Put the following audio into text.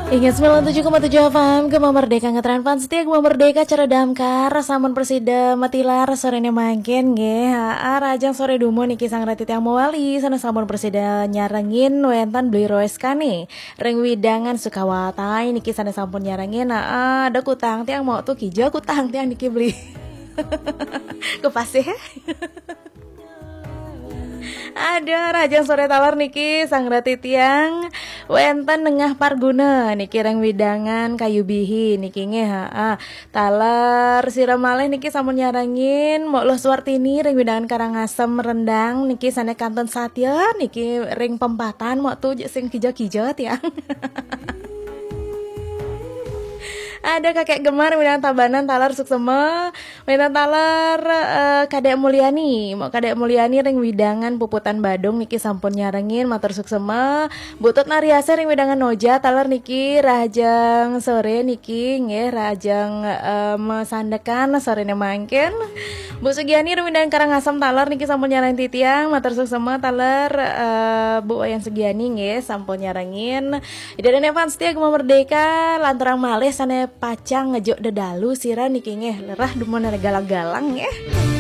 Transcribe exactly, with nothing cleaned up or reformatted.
Ingat sembilan tujuh koma tujuh F M, Gema Merdeka, ngetren fans setia Gema Merdeka, cara damkar, sampun prasida matilar sorene mangkin nggih. Aa, rahajeng sore dumun niki sang rati tiang mawali, sane sampun prasida nyarengin wenten Beli Roeskane ring wewidangan Sukawati niki sane sampun nyarengin. Aa, ada kutang tiang mau tu kija kutang tiang niki Beli. Kepasih. Ada rahajeng sore taler niki sang rati tiang wenten Nengah Parguna niki ring wewidangan Kayu Bihi niki nggih, aa. Taler sira malih niki sampun nyarengin Mok Luh Suwartini ring wewidangan Karangasem Rendang niki sane kantun satya niki ring pempatan Mok tu sing kija-kija tiang. Ada Kakek Gemar wewidangan Tabanan taler suksema. Wenten taler, eh, Kadek Mulyani. Mok Kadek Mulyani ring wewidangan Puputan Badung niki sampun nyarengin, matur suksema. Butut Nariase ring wewidangan Noja taler niki rahajeng sore niki nggih rahajeng, eh, masandekan sorene mangkin. Bu Sugiani ring wewidangan Karangasem taler niki sampun nyarengin titiang, matur suksema taler, eh, Bu Wayan Sugiani nggih sampun nyarengin. Ida dane fans setia Gema Merdeka, lanturang malih sane pacang ngejuk dedalu sira niki nggih, lerah dumun galang-galang nggih.